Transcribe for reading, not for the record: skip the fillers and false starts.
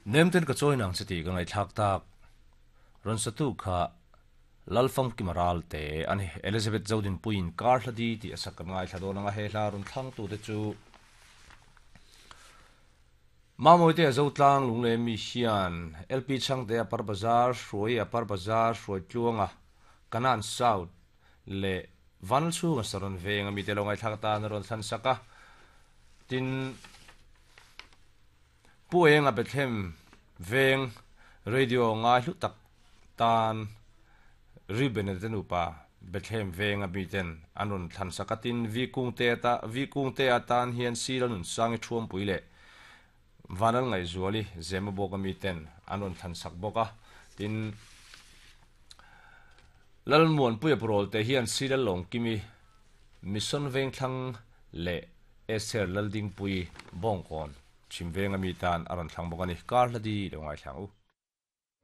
Nemten ka chawi nang che tih ka ngaihthlak tak. Rawn satu kha Lalfamkima Ralte a ni. Elizabeth Zodinpuiin Kar hla di tih a sak kan ngaithla dawn ang a, he hla rawn thlangtute chu Mamawite a Zotlang Lunglei mi hian LP Chhangte a Par Bazar, Hruai a Par Bazar, Hruaitluanga, Kanan South leh Vanlchhunga Saron Venga mite lo ngaihthlak atan a rawn thlan sak a. Tin, Pu Enga Bethlehem Veng Radio ngai hlu tak tan Reuben-a te nupa Bethlehem Venga miten an rawn thlan sak a. Tin, Vi Kungte ata Vi Kungte atan hian Sila Nunsangi Thuampui leh Vanal Ngaihzuali Zemabawka miten an rawn thlan sak bawk a. Tin, Lalmuanpuia Purawlte hian Sila Lawngkimi Mission Vengthlang leh Esther Laldingpuii Bawngkawn Chhimvenga mi tan a rawn thlang bawk a ni. Kar hla di lo ngaithla ang u.